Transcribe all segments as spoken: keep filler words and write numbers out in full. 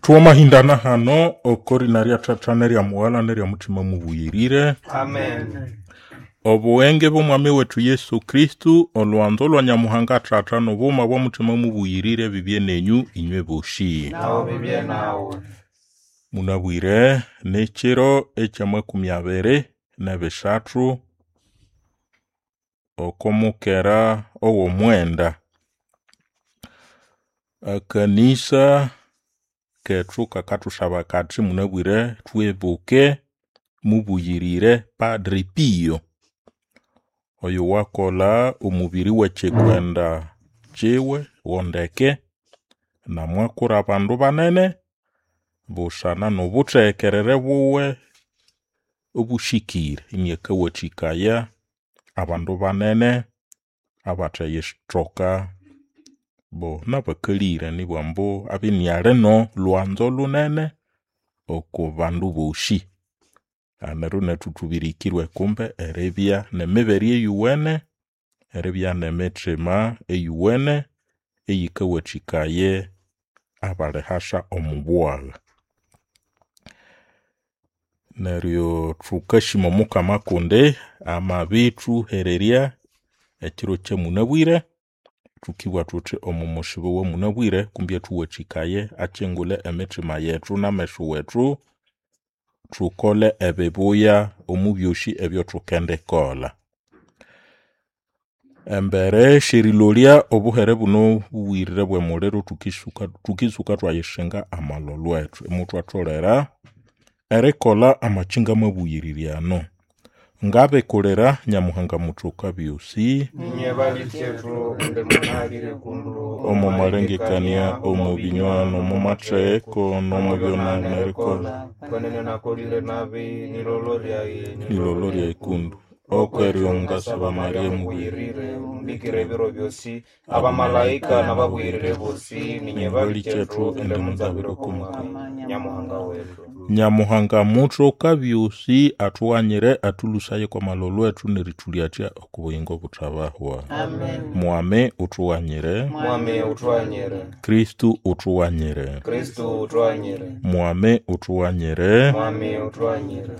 Twamahindana hano okorina rya Thatha nerya Mughala nerya Muthima Mubuyirire. Amen. Obughenge bw'Omwami wetu Yesu Kristu, olwanzo lwa Nyamuhanga Thatha n'obughuma bwa Muthima Mubuyirire bibye nenyu inywe boshi. Nawe bibye nawe. Munabwire n'ekiro eky'amakumi abiri n'ebisathu oko mukera ow'omwenda. Akanisa kethu kakathusaba kathi munabwire thwibuke mubuyirire Padre Pio oyo wakolha omubiri w'ekikwenda kiwe wondeke namwakura abandu banene busana n'obuthehekerere buwe obusikire iniakawathikaya abandu banene abatheyithoka bo nabakalire nibugha ambu abye iniali n'olwanzo lunene oko bandu bosi. Neryo nethu thubirikirwe kumbe eribya n'emibere eyuwene, eribya n'emithima eyuwene eyikawathikaye abalihasa omo bwagha. Neryo thukasima omukama kundi amabithuhererya ekiro ekyamunabwire, thukibugha thuthi omo musibo owamunabwire kumbi athuwathikaye akyingulhe emithima yethu n'ameso wethu, thukole ebibuya omo byosi ebyathukendikolha. Embere syerilolya obuhere buno obubuyirire obw'emuliro thukisuka thukitsuka twayisinga amalholho ethu imuthwatholera erikolha amakyinga amabuyirire ano. Ngabikulira Nyamuhanga muthoka byosi Inye balikyethu kundi munabwire kundu omo malengekania, omo binywa, n'omo matheko, n'omo byonana erikolha Kwenene nakolile nabi nilolo lyayi nilolo lyayi kundu okweryo ngasaba Maria mubuyirire mubuyirire umbikire ebiro byosi abamalaika n'ababuyirire bosi ninye balikyethu ende munzabire okumukama Nyamuhanga wetu. Nyamuhanga muthoka byosi athughanyire athulhusaye kw'amalholho ethu nerithulyatya oko buyingo obuthabahwa. Amen. Mwami uthughanyire, Mwami uthughanyire. Kristu uthughanyire, Kristu uthughanyire. Mwami uthughanyire, Mwami uthughanyire.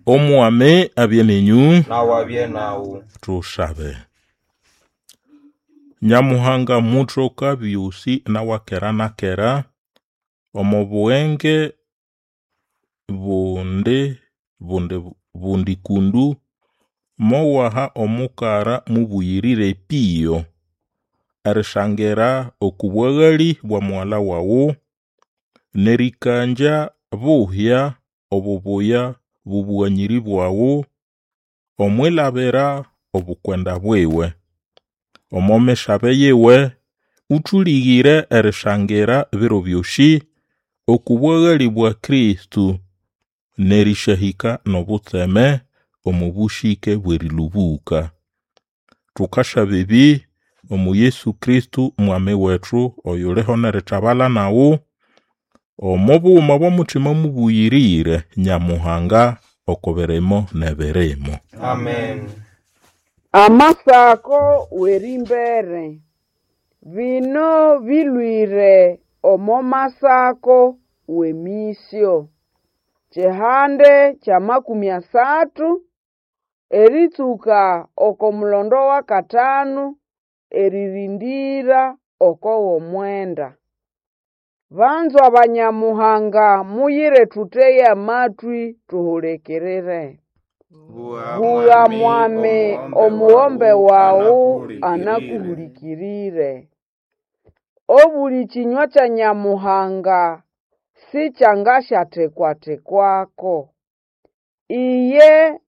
Omwami abye nenyu, Nawe abye nawu. thusabe. Nyamuhanga muthoka byosi nawakera nakera, omo bughenge bundi bundi bundi kundu mowaha omukara mubuyirire Pio erisangira oku bwaghali bwa mughalha waghu n'erikangya buhya obubuya bw'obughanyiri bwaghu omwilabira obukwenda bwiwe. Omo misabe yiwe uthulighire erisangira ebiro byosi oku bwaghali bwa Kristo n'erisyahika n'obutseme omo busike bw'erilhubuka. Thukasaba ebi omo Yesu Kristo Mwami wethu oyuliho n'erithabalha naghu omo bughuma bw'omuthima mubuyirire Nyamuhanga oko birimo n'ebirimo. Amen. Amasako w'erimbere. Bino bilhwire omo masako w'emisyo. Kyihande ky'amakumi asathu eritsuka oko mulondo w'akatanu eririndira oko w'omwenda. Banzwa ba Nyamuhanga muyire thuthege amatwi thuhulikirire. Bugha Mwami omughombe waghu anakuhulikirire. Obuli kyinywa kya Nyamuhanga sikyangasyathekwathekwako. Iye